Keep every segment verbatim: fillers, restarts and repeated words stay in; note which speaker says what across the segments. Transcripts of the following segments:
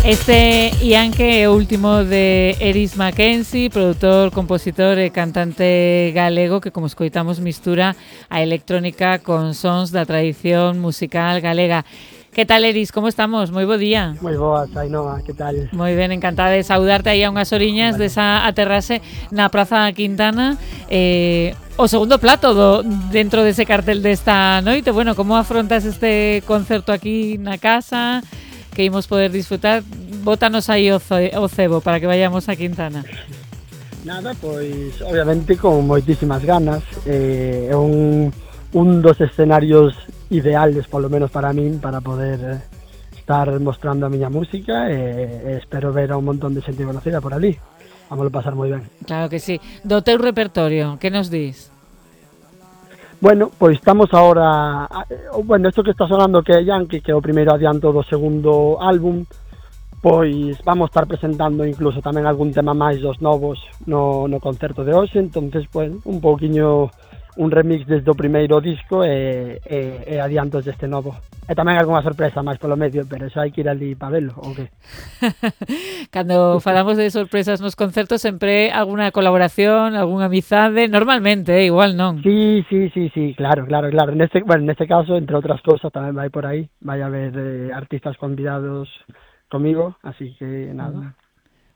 Speaker 1: Este Ianque é o último de Eris Mackenzie, produtor, compositor e cantante galego que, como escoitamos, mistura a electrónica con sons da tradición musical galega. Que tal, Eris? Como estamos? Moi bo día.
Speaker 2: Moi boa, Ainhoa, que tal?
Speaker 1: Moi ben, encantada de saudarte aí a unhas oriñas vale. Desa aterrase na Praza Quintana. Eh, o segundo plato do, dentro dese cartel desta noite. Bueno, como afrontas este concerto aquí na casa que imos poder disfrutar? Bótanos aí o, o cebo para que vayamos a Quintana.
Speaker 2: Nada, pois obviamente con moitísimas ganas. Eh, é un, un dos escenarios ideales, polo menos para min, para poder eh, estar mostrando a miña música e, e espero ver a un montón de xente conocida por ali. Vámoslo pasar moi ben.
Speaker 1: Claro que sí. Do teu repertorio, que nos dis?
Speaker 2: Bueno, pois estamos ahora, bueno, isto que está sonando que é Yankee, que é o primeiro adianto do segundo álbum, pois vamos estar presentando incluso tamén algún tema máis dos novos no, no concerto de hoxe, entonces, bueno, un pouquiño un remix desde o primeiro disco e, e, e adiantos deste novo. E tamén algunha sorpresa máis polo medio, pero eso hai que ir ali para velo, ou que?
Speaker 1: Cando falamos de sorpresas nos concertos, sempre alguna colaboración, algunha amizade, normalmente, eh, igual non?
Speaker 2: Sí, sí, sí, sí, claro, claro, claro. Neste, bueno, neste caso, entre outras cousas, tamén vai por aí, vai haber eh, artistas convidados comigo, así que nada.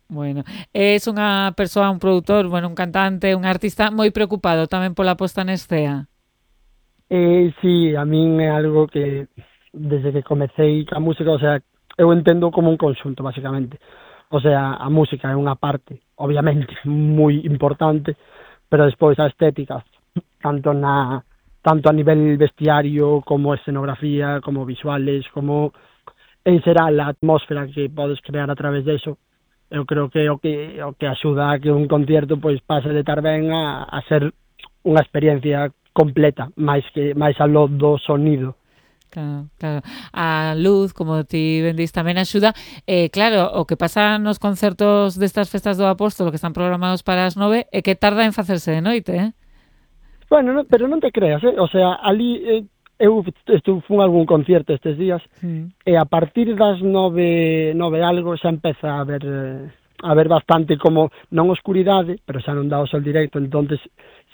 Speaker 1: Bueno, es unha persoa, un produtor, bueno, un cantante, un artista moi preocupado tamén pola posta en escena.
Speaker 2: Eh, sí, a min é algo que desde que comecei a música, o sea, eu entendo como un conxunto, basicamente. O sea, a música é unha parte, obviamente, moi importante, pero despois a estética, tanto na tanto a nivel vestiario, como escenografía, como visuales, como en xeral a atmósfera que podes crear a través deso. Eu creo que o que o que axuda a que un concierto pois pase de estar ben a, a ser unha experiencia completa, máis que máis aló do sonido.
Speaker 1: Claro, claro. A luz, como ti ben dis, tamén axuda. Eh, claro, o que pasa nos concertos destas festas do Apóstolo que están programados para as nove é que tarda en facerse de noite, eh?
Speaker 2: Bueno, no, pero non te creas, eh? O sea, ali eh, eu estuve fun algún concierto estes días mm. e a partir das nove, nove algo xa empeza a ver eh, a ver bastante como non oscuridade, pero xa non dá o sol directo, entonces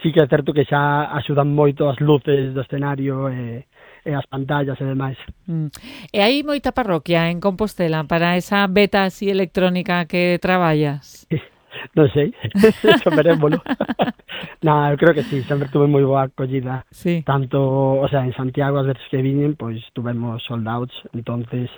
Speaker 2: sí que é certo que xa axudan moito as luces do escenario e, e as pantallas e demais.
Speaker 1: Mm. E hai moita parroquia en Compostela para esa beta así electrónica que traballas?
Speaker 2: Non sei, eso verémolo. No, eu creo que sí, sempre tuve moi boa acollida.
Speaker 1: Sí.
Speaker 2: Tanto, o sea, en Santiago as veces que viñen, pois tuvemos sold outs, entonces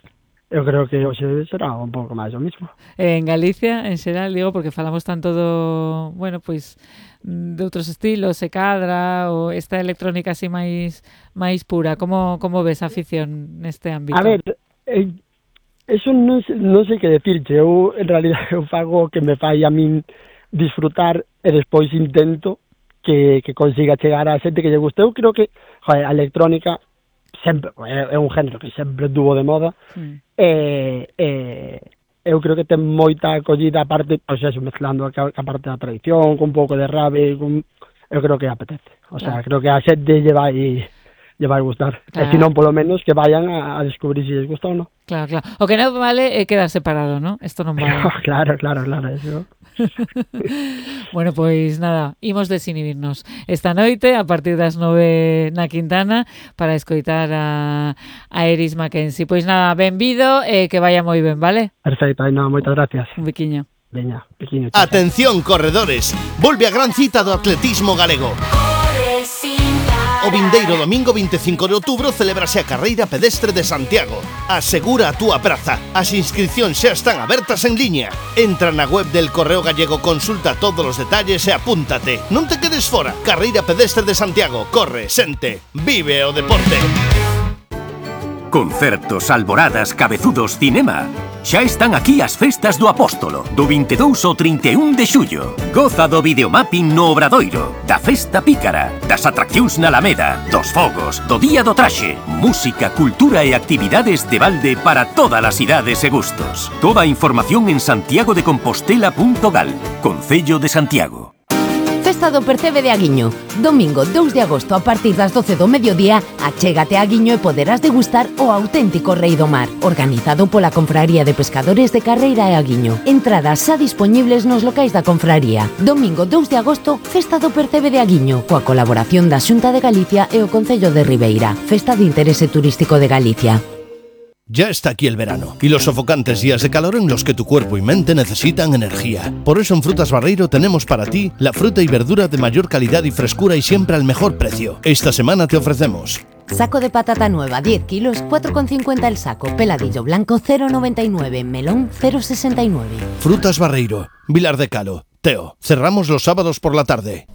Speaker 2: eu creo que hoxe será un pouco máis o mismo.
Speaker 1: En Galicia, en xeral, digo, porque falamos tanto do, bueno, pois de outros estilos, se cadra, ou esta electrónica así máis máis pura. Como como ves a afición neste ámbito?
Speaker 2: A ver, eh, eso non, non sei que decirche, eu en realidad eu fago o que me fai a min disfrutar e despois intento que, que consiga chegar a xente que lle guste. Eu creo que, joder, a electrónica sempre é, é un género que sempre tuvo de moda mm. e, e eu creo que ten moita acollida, aparte, pois eso, mezclando a, a parte da tradición, con un pouco de rave, con, eu creo que apetece. O sea, claro. Creo que a xente lle vai lle vai gustar. Claro. E se non, polo menos, que vayan a, a descubrir se lles gusta ou non.
Speaker 1: Claro, claro. O que non vale é quedar separado, ¿no? Esto non vale.
Speaker 2: Claro, claro, claro, eso.
Speaker 1: Bueno, pois nada, imos desinhibirnos esta noite a partir das nove na Quintana para escoitar a, a Eris Mackenzie. Pois nada, benvido e que vaya moi ben, vale?
Speaker 2: Perfecto, no, moitas gracias.
Speaker 1: Un biquiño.
Speaker 2: Veña, biquiño.
Speaker 3: Atención, corredores, volve a gran cita do atletismo galego. O vindeiro domingo vinte e cinco de outubro celebrase a carreira pedestre de Santiago. Asegura a túa praza. As inscripcións xa están abertas en liña. Entra na web del Correo Gallego, consulta todos os detalles e apúntate. Non te quedes fora. Carreira pedestre de Santiago. Corre, sente, vive o deporte.
Speaker 4: Concertos, alboradas, cabezudos, cinema. Xa están aquí as festas do Apóstolo, do vinte e dous ao trinta e un de xullo. Goza do videomapping no Obradoiro, da festa pícara, das atraccións na Alameda, dos fogos, do día do traxe, música, cultura e actividades de balde para todas as idades e gustos. Toda a información en santiago de compostela punto gal, Concello de Santiago.
Speaker 5: Festa Festa do Percebe de Aguiño. Domingo dous de agosto a partir das doce do mediodía, achégate a Aguiño e poderás degustar o auténtico Rei do Mar, organizado pola Confraría de Pescadores de Carreira e Aguiño. Entradas xa dispoñibles nos locais da confraría. Domingo dous de agosto, Festa do Percebe de Aguiño, coa colaboración da Xunta de Galicia e o Concello de Ribeira. Festa de interese turístico de Galicia.
Speaker 3: Ya está aquí el verano y los sofocantes días de calor en los que tu cuerpo y mente necesitan energía. Por eso en Frutas Barreiro tenemos para ti la fruta y verdura de mayor calidad y frescura y siempre al mejor precio. Esta semana te ofrecemos
Speaker 5: saco de patata nueva diez kilos, cuatro con cincuenta el saco. Peladillo blanco cero con noventa y nueve, melón cero con sesenta y nueve.
Speaker 3: Frutas Barreiro, Vilar de Calo, Teo. Cerramos los sábados por la tarde.